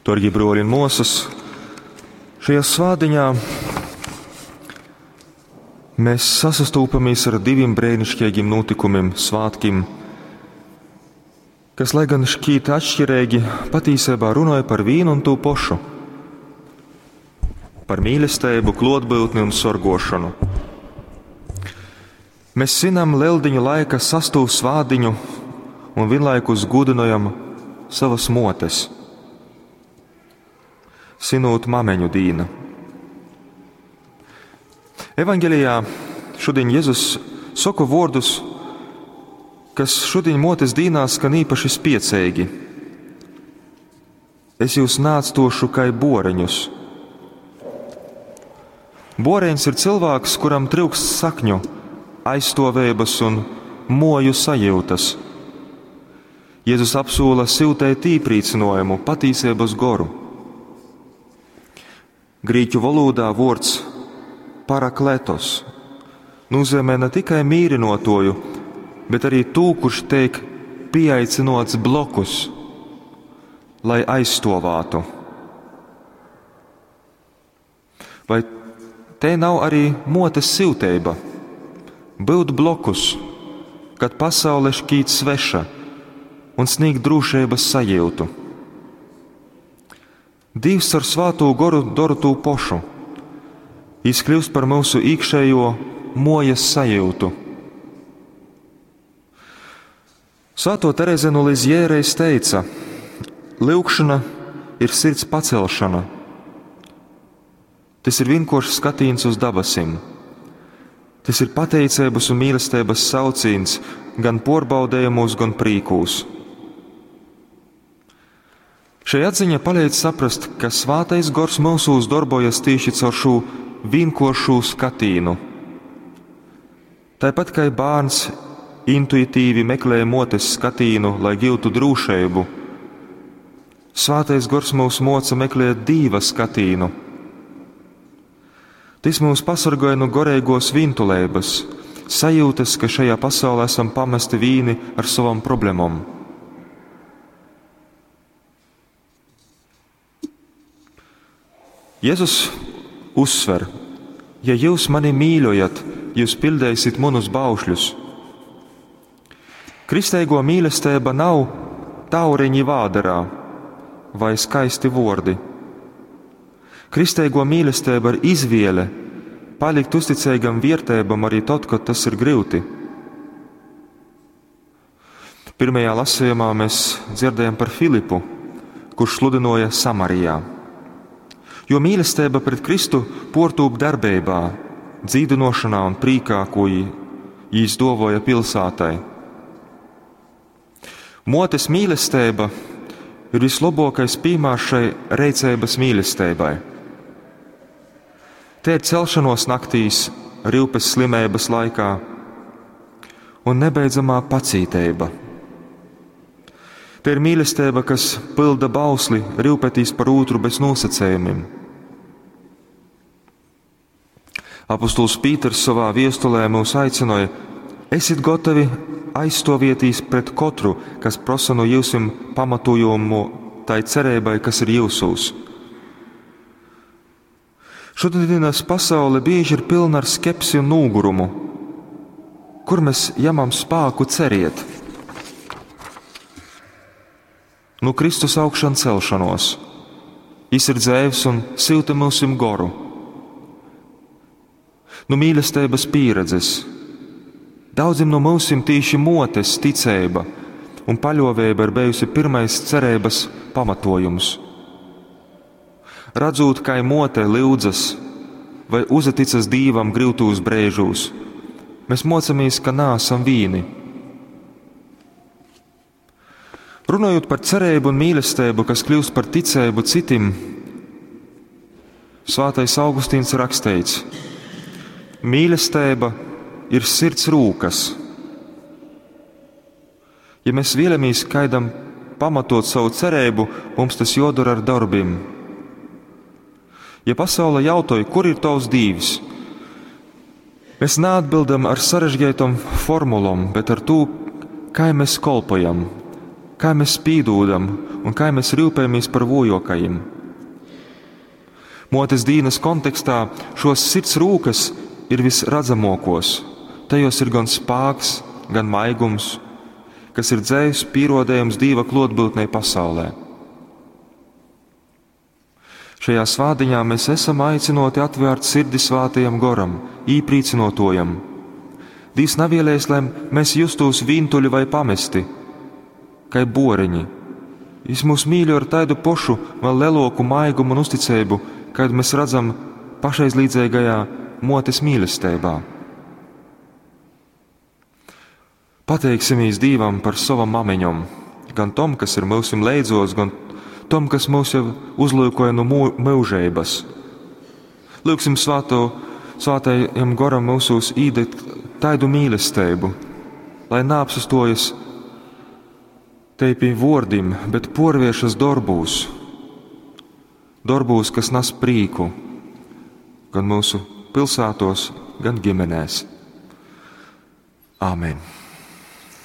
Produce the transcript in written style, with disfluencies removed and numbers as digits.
Darbie broļi un māsas, šajā svētdienā mēs sasastūpamies ar diviem brēnišķīgiem notikumiem, svētkiem, kas, lai gan šķiet atšķirīgi, patiesībā runāja par vienu un to pašu - par mīlestību, klotbūtni un sorgošanu. Mēs svinam Lieldiņu laika sastū svādiņu un vienlaikus gudinojam savas motes svinot mameņu dīnu. Evanģelijā šodien Jēzus saka vārdus, kas šodien motes dīnā skan īpaši spiecīgi. Es jūs nāctošu kai boreņus. Boreņs ir cilvēks, kuram trūkst sakņu, aizstāvības un moju sajūtas. Jēzus apsola siltēt īprīcinājumu, patīsības goru. Grīķu valodā vārds parakletos nozīmē ne tikai mīrinotoju, bet arī tū, kurš teik pieaicinots blokus, lai aizstovātu. Vai te nav arī motes silteiba? Būt blokus, kad pasaule šķīt sveša un sniegt drošības sajūtu. Dievs ar svāto goru dara to pošu. Jis kļūst par mūsu iekšējo mojas sajūtu. Svēto Tereze no Lizjē reiz teica: Lūkšana ir sirds pacelšana. Tas ir vienkāršs skatīns uz dabasim. Tas ir pateicības un mīlestības saucīns gan porbaudējumos, gan prīkūs. Šī atziņa palīdz saprast, ka Svātais Gors mūsūs darbojas tieši caur šo vienkāršo skatīnu. Tāpat kā bērns intuitīvi meklē motes skatīnu, lai gūtu drošību, Svātais Gors mūs moca meklēt dīva skatīnu. Tas mūs pasargāja no gorīgos vintulības, sajūtas, ka šajā pasaulē esam pamesti vīni ar savam problēmām. Jēzus uzsver, ja jūs mani mīļojat, jūs pildēsiet manus baušļus. Kristēgo mīlestība nav tauriņi vāderā vai skaisti vordi. Kristēgo mīlestība ir izvēle palikt uzticīgam vērtībam arī tad, kad tas ir grūti. Pirmajā lasījumā mēs dzirdējam par Filipu, kurš sludināja Samarijā. Jo mīlestība pret Kristu portūp darbībā, dzīdinošanā un prīkā, ko jīs dovoja pilsētai. Motes mīlestība ir vislabākais piemērs šai reicības mīlestībai. Te ir celšanos naktīs, rīpes slimības laikā un nebeidzamā pacīteiba. Te ir mīlestība, kas pilda bausli, rūpētīs par otru bez nosacījumiem. Apostols Pīters savā viestulē mūs aicināja: Esiet gatavi aizstāvēties pret katru, kas prasa no jūsim pamatojumu tai cerībai, kas ir jūsūs. Šodienas pasaule bieži ir pilna ar skepsi un nūgurumu. Kur mēs ņemam spēku ceriet? Nu Kristus augšan celšanos. Jis ir dzēvs un silta mūsim goru. Nu mīlestības pieredzes. Daudziem no mūsim tīši motes ticība un paļovēba ir bijusi pirmais cerības pamatojums. Redzot, kā mote lūdzas vai uzaticas dīvam grūtūs brēžūs, mēs mocamies, ka nāsam vīni. Runājot par cerību un mīlestību, kas kļūst par ticību citim, Svētais Augustīns raksteits: Mīlestība ir sirds rūkas. Ja mēs vēlamies kaidam pamatot savu cerību, mums tas jodara ar darbiem. Ja pasaule jautāja, kur ir tavs dīvs, mēs neatbildam ar sarežģītām formulām, bet ar to, kā mēs kolpojam, Kā mēs pīdūdam un kā mēs rūpējamies par vojokajiem. Motes dīnas kontekstā šos sirds rūkas ir visredzamākos. Tajos ir gan spāks, gan maigums, kas ir dzēvs pierodējums Dīva klotbūtnei pasaulē. Šajā svādiņā mēs esam aicinoti atvērt sirdi svātajam goram, īprīcinotojam. Dīvs navielēs, lai mēs justos vīntuļi vai pamesti, kai boreņi. Jis mūs mīļo ar taidu pošu, vēl leloku maigumu un uzticību, kādu mēs redzam pašaizlīdzīgajā motes mīlestībā. Pateiksimies Dīvam par savam mameņom, gan tom, kas ir mūsim leidzos, gan tom, kas mūs jau uzlūkoja no mūžības. Lūksim svāto, svātajam goram mūsos īdegt taidu mīlestību, lai neapsastojas te pie vordim, bet porviešas darbūs, darbūs, kas nes prīku, gan mūsu pilsētos, gan ģimenēs. Āmen!